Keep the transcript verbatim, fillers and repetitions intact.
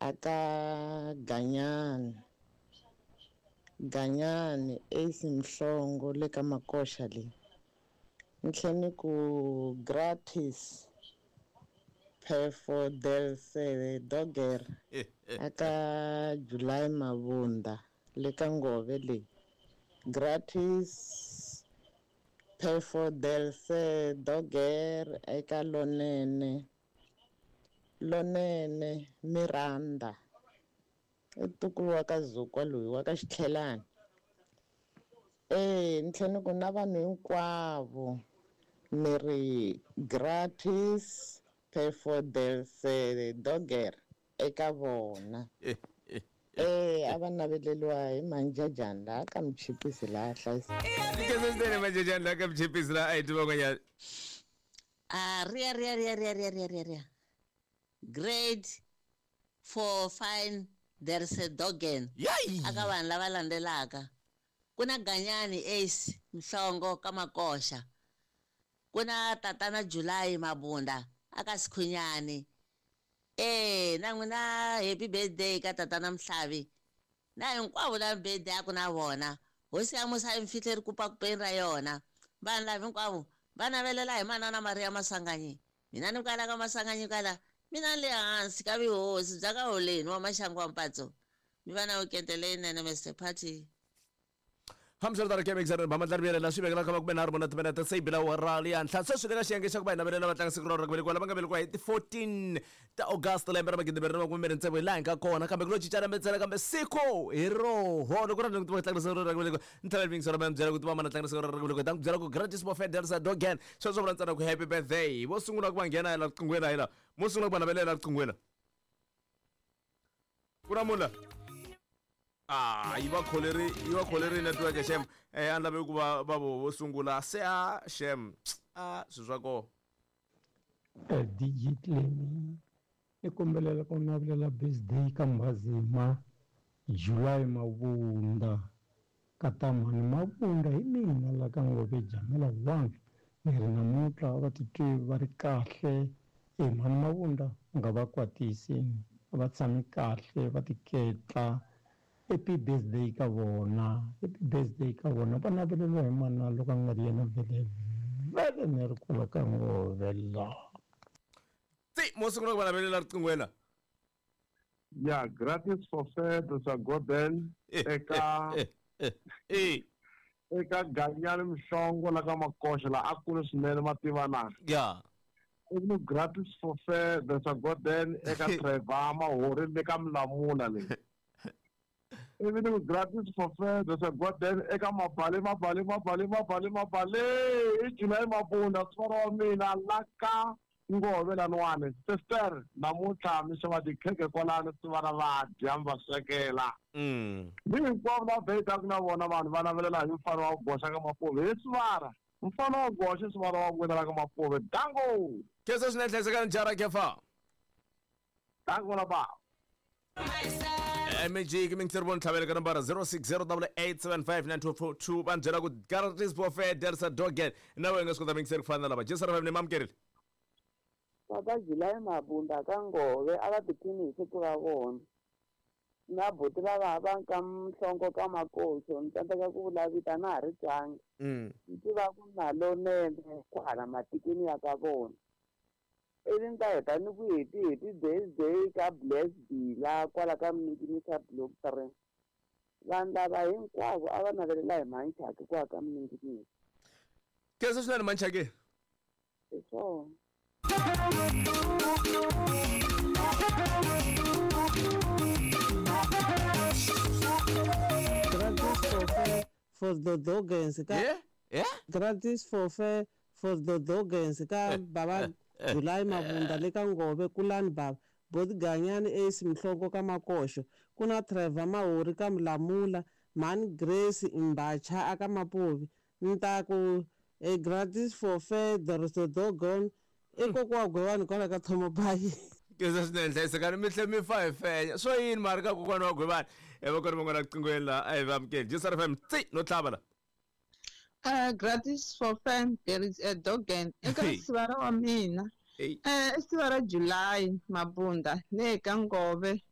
Aka Ganyani Ganyani Ace Mhlongo le ka Makoxa leyi ni tlhe ni ku gratis Phefo Delse Doger aka July Mabunda le ka Ngove leyi gratis Phefo Delse Doger eka Lonene Lonene Miranda i ntukulu wa ka Zukwa loyi wa ka Xitlhelani eh ni tlhela ni ku na vanhu hinkwavo ni ri gratis Phefo Delse Doger eka vona eh a va naveleliwa hi manjajani laha ka Mchipisi laha hlayisa Khensa swinene manjajani laha ka Mchipisi laha a hi tiva van'wanyana Ah, ria ria ria ria ria ria ria ria. Grade four fine there's a dogen. Yayi! Aka vanhu lava landzelaka. Ku na Ganyani Ace Mhlongo ka Makoxa. Ku na Tatana July Mabunda aka Sikhunyani. Eh, na n'wina happy birthday ka Tatana Mhlavi. Na hinkwavo lava birthday a ku na vona. Hosi ya musa yi mi fihle rikupakupeni ra yona. Vanhu lava hinkwavo va navelela hi manana Maria Masanganyi. Mina ni kwala ka Masanganyi kwala. Mina ni le hansi ka vuhosi bya ka Holeni wa Maxangu wa Mpatso. Mi va na weekend leyinene Mister Party. Hambiswiritano ke mixer ba matla rivele la swi vekela ka makume nharhu mune timinete se yi bila awara leyi henhla sweswi le ka xiyenge xa ku va hi navelela vatlangi siku ra ku velekiwa lava nga velekiwa hi ti fourteen ta August lembe ra magidi mbirhi na makume mbirhi tsevu hi laha hi nga kona kambe ku lo cincana ntsena kambe siku hi roho loko ra ku tiva tlanga siku ra ku velekiwa ni tlhela mixer ra byela ku tiva mana tlanga siku ra ku velekiwa ta ku byela ku gratis bofedel sa dogen sweswo vula ntsena ku happy birthday vo sungula ku va nghena hi la riqinghweni hi la mo sungula ku va navelela riqinghweni ku na munhu la Ah, yi va kholeri yi va kholeri network xem eh a ni lave ku va va vo vo sungula se a xem a swi swa koho Eh, D J Clemi ni kombelela ku navelela birthday ka Mbhazima July Mabunda ka Tamani Mabunda hi mina la ka Ngove Jamela one ni ri namuntlha va titwi va ri kahle e mhani Mabunda u nga va kwatisi va tshami kahle va tiketla happy birthday ka vona happy birthday ka vona va naveleriwa hi mana loko a nga ri yena vele vele ni ri kwala ka Ngove la ti mo sungula ku va navelela riqinghweni la Ya gratis for fair sa Gordon eka eh eka Ganyani Mhlongo la ka Makoxa la a kule swinene mativana ya i gratis for fair sa Gordon eka Trevor Mahori le ka Mlamula le ivi ni ku gratis for fair sa Gordon eka Mabale Mabale Mabale Mabale Mabale i July Mabunda sivara wa mina la ka Ngove laniwani sister namuntlha mi xava tikhekhe kwalano sivara va dya mi va swekela mm ni hinkwavo lava beyitaku na vona vanhu va navelela hi mfano wa goxa ka Mapuve hi sivara mfano wa goxa sivara wa n'wina la ka Mapuve dango khensa swinene hlayisekani jara kefa dango la ba M G ki mingiseri vona tlhavele ka nambara zero six zero double eight seven five nine two four two va ni byela ku gratis for fair delsa dogen na wena u nga swi kota mingiseri ku fana na lava Jesu ra ni mamukerile Papa July Mabunda ka Ngove a va tiphini hi siku ra vona na buti va va va ka Mhlongo ka Makoxo ni tsandzeka ku vula vita na ha ri twangi Mm. ni tiva ku na lonene kwahala matikweni ya ka vona ivi ni ta heta ni ku happy happy birthday ka Bless Bila kwala ka Mninginisa block three vanhu lava hinkwavo a va navelela hi Manchaki kwala ka Mninginisa khensa swinene Manchaki hi swona Gratis for fair for the dogens ka Yeah? Yeah? Gratis for fair for the dogens ka baba July Mabunda le ka Ngove kulani baba Boti Ganyani Ace Mhlongo ka Makoxo ku na Trevor Mahori ka Mlamula Mhani Grace Mbacha aka Mapuvi ni ta ku e gratis for fair the dogon i kokwa wa Gwewani kwala ka Thomobayi Khensa swinene hlayisekani mi tlhe mi fa hi fenya swo yini mara ka kokwana wa Gwewani e va kona van'wana riqinghweni la a hi va amukeli Jesu F M tsi no tlhava la Uh, gratis for fun there is a dogen eka Hey. sivara wa mina Hey. eh i sivara July Mabunda le ka Ngove